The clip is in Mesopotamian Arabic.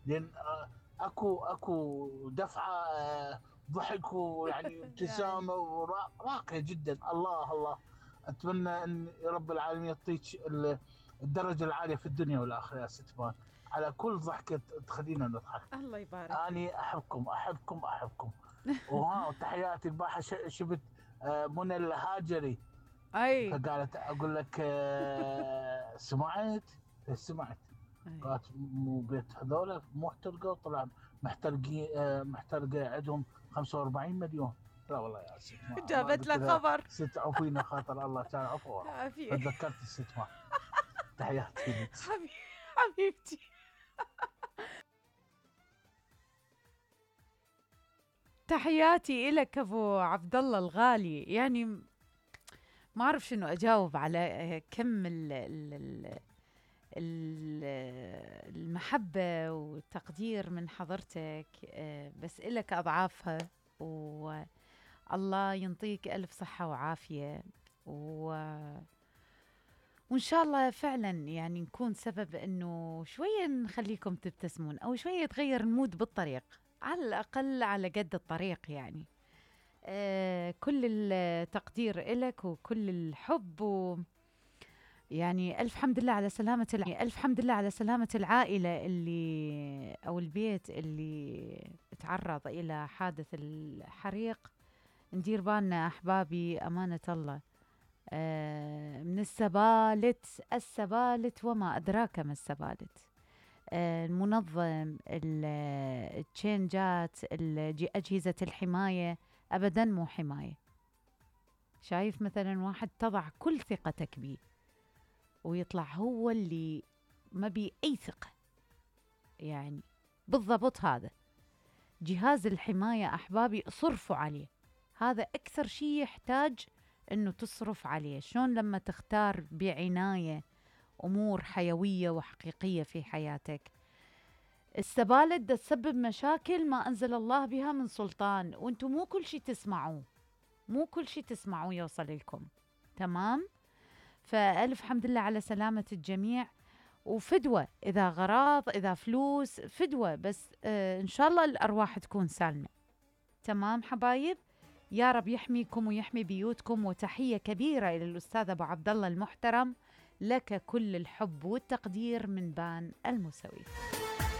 لان اكو دفعه ضحك ويعني يعني ابتسامه راقيه جدا. الله الله. اتمنى ان رب العالمين يعطيك الدرجه العاليه في الدنيا والاخره يا ست مان، على كل ضحكه تخلينا نضحك. الله يبارك فيك. اني احبكم احبكم احبكم. وتحياتي البارحه شفت منى الهاجري، اي فقالت اقول لك سمعت؟ سمعت. اي قالت مو بيت هذول مو احترقوا، طلع محترقين محترقه عندهم 45 مليون. لا والله يا ست ما جابت قلت لك لها خبر. ست عفينا خاطر الله كان عفو. عافية. فتذكرت الست ما. تحياتي لك. حبيبتي. تحياتي إلك أبو عبد الله الغالي. يعني ما أعرف شنو أجاوب على كم المحبة والتقدير من حضرتك. بس إلك أضعافها، والله ينطيك ألف صحة وعافية، وإن شاء الله فعلا يعني نكون سبب إنه شوية نخليكم تبتسمون، أو شوية يتغير المود بالطريق، على الأقل على قد الطريق يعني. كل التقدير إلك وكل الحب، يعني ألف حمد لله على سلامة ألف حمد لله على سلامة العائلة اللي أو البيت اللي تعرض إلى حادث الحريق. ندير بالنا أحبابي، أمانة الله. من السبالت وما أدراك ما السبالت. المنظم، التشينجات، أجهزة الحماية أبدا مو حماية. شايف مثلا واحد تضع كل ثقتك بيه ويطلع هو اللي ما بي أي ثقة، يعني بالضبط هذا جهاز الحماية أحبابي، صرفوا عليه. هذا أكثر شيء يحتاج أنه تصرف عليه. شلون لما تختار بعناية أمور حيوية وحقيقية في حياتك. السبالة تسبب مشاكل ما أنزل الله بها من سلطان، وانتم مو كل شيء تسمعوه، مو كل شيء تسمعوه يوصل لكم. تمام؟ فألف حمد لله على سلامة الجميع. وفدوة إذا غراض، إذا فلوس، فدوة، بس إن شاء الله الأرواح تكون سالمة. تمام حبايب؟ يا رب يحميكم ويحمي بيوتكم. وتحية كبيرة إلى الأستاذ أبو عبد الله المحترم، لك كل الحب والتقدير من بان الموسوي.